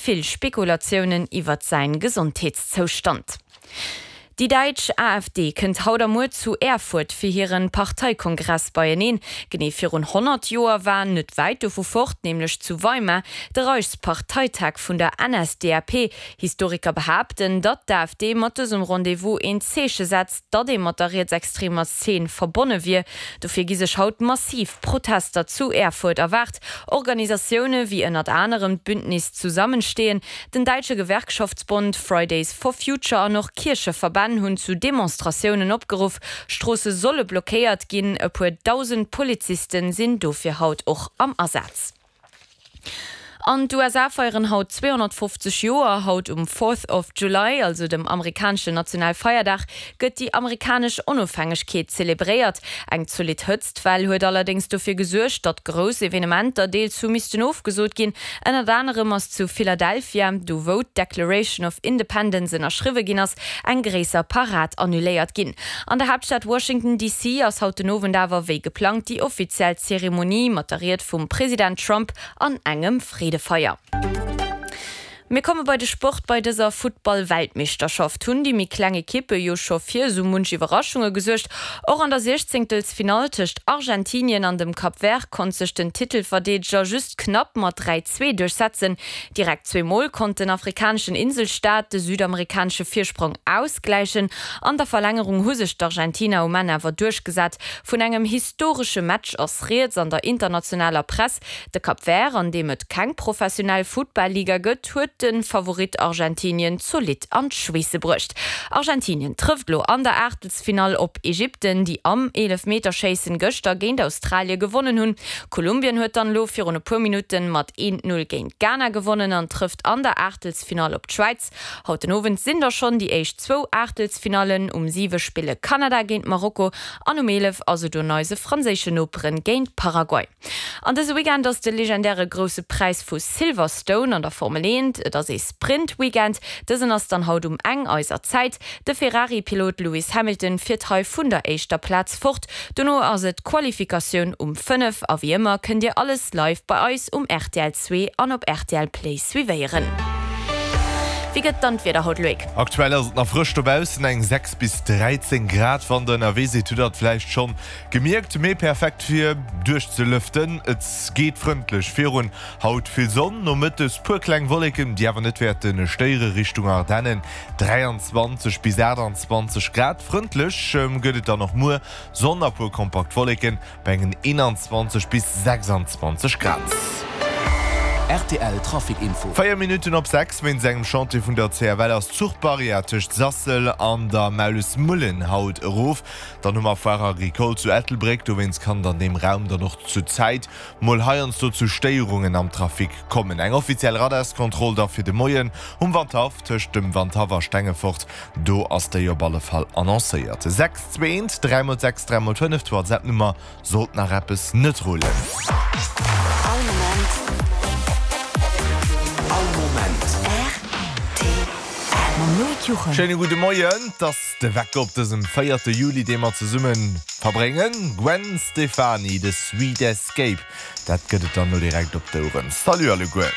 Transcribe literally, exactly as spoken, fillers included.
vill Spekulatiounen iwwert säin Gesondheetszoustand. Déi däitsch AfD kënnt haut a muer zu Erfurt fir hiren Parteikongress beieneen. Genee virun honnert Joer war net wäit dovu fort, nämlech zu Weimar, de Reichsparteitag vun der N S D A P. Historiker behaapten, datt d'AfD mat dësem Rendez-vous een Zeeche setzt, datt ee mat der rietsextremer Zeen verbonne wier. Dofir gi sech haut massiv Protester zu Erfurt erwaart. Organisatioune wéi ënnert anerem d'Bündnis Zusammenstehen, den däitsche Gewerkschaftsbond Fridays for Future an och Kiercheverbänn hunn zu Demonstratiounen opgeruff. Stroosse solle blockéiert ginn, e puer dausend Poliziste sinn dofir haut och am Asaz. An d'U S A feieren haut zweehonnertfofzeg Joer. Haut um Fourth of July, also dem amerikaneschen Nationalfeierdag, gëtt déi amerikanesch Onofhängegkeet zelebréiert. Eng zolidd Hëtztwell huet allerdéngs dofir gesuergt, datt grouss Evenementer deels hu missten ofgesot ginn. Ënnert anerem ass zu Philadelphia, do wou d'Declaration of Independence ënnerschriwwe ginn ass, eng gréisser Parad annuléiert ginn. An der Haaptstad Washington D C ass haut den Owend awer wéi geplangt déi offiziell Zeremonie mat der Ried vum President Trump an engem Freedefeier. Mir komme bei de Sport. Bei dëser Futtball-Weltmeeschterschaft hunn déi méi kleng Ekippe jo scho fir sou munch Iwwerraschunge gesuergt. Och an der Siechzéngtelsfinall tëscht Argentinien an dem Cap Vert konnt sech den Titelverdeedeger just knapp mat dräi, zwee duerchsetzen. Direkt zwee Mol konnt den afrikaneschen Inselstaat de südamerikanesche Virsprong ausgläichen. An der Verlängerung hu sech d'Argentiner um Enn awer duerchgesat. Vun engem historesche Match ass rieds an der internationaler Press. De Cap Vert, an deem et keng professionell Futtball-Liga gëtt, huet de Favorit Argentinien zolidd an d'Schweesse bruecht. Argentinien trëfft lo an der Aachtelsfinall op Ägypten, déi am Eelefmeterschéissen gëschter géint Australie gewonnen hunn. Kolumbien huet dann lo virun e puer Minutten mat eent Null géint Ghana gewonnen an trëfft an der Aachtelsfinall op d'Schwäiz. Haut den Owend sinn da schonn déi éischt zwou Aachtelsfinallen. Um siwe spille Kanada géint Marokko an um eelef ass et un eise franséischen Noperen géint Paraguay. An dëse Weekend ass de legendäre Grousse Präis vu Silverstone an der Formel eent. Et ass ee Sprint-Weekend. Dësen ass dann haut um eng eiser Zäit. De Ferrari-Pilot Lewis Hamilton fiert hei vun der éischter Plaz fort. Dono ass et d'Qualifikatioun um fënnef a wéi ëmmer kënnt Dir alles live bei eis um R T L zwee an op R T L Play suivéieren. Wéi gëtt dann d'Wieder haut, Loïc? Aktuell ass et nach frësch dobaussen, eng sechs bis dräizéng Grad. Wann der ënnerwee sidd, hutt der et vläicht schonn gemierkt, mee perfekt fir duerchzelëften. Et geet frëndlech virun, haut vill Sonn, nomëttes puer kleng Wolleken, déi awer net wäerte stéiere. Richtung Ardennen dräianzwanzeg bis aachtanzwanzeg Grad. Frëndlech gëtt et dann och muer, Sonn a puer kompakt Wolleken bei engen eenanzwanzeg bis sechsanzwanzeg Grad. R T L Trafic Info. Véier Minutten op sechs. Wéinst engem Chantier vun der C F L ass d'Zuchbarrière tëscht Sassel an der Maulesmullen haut erof. Dann hu mer Foire Agricole zu Ettelbréck, dowéinst kann et an deem Raum dann och zur Zäit mol heiansdo zu Stéierungen am Trafic kommen. Eng offiziell Radarskontroll da fir de Moien um Wandhaff tëscht dem Wandhaff a Stengefort, do ass déi op alle Fall annoncéiert. Sechs zwee eent dräi mol sechs dräi mol fënnef, d'WhatsApp-Nummer, sollt nach eppes net rullen. All Moment. All Moment. R T L. Mam Loïc Juchem. Schéine gudde Moien, 't ass de Wecker op dësem véierte Juli, dee mer zesumme verbréngen. Gwen Stefani, The Sweet Escape, dat gëtt et dann lo direkt op d'Oueren. Salut alleguer.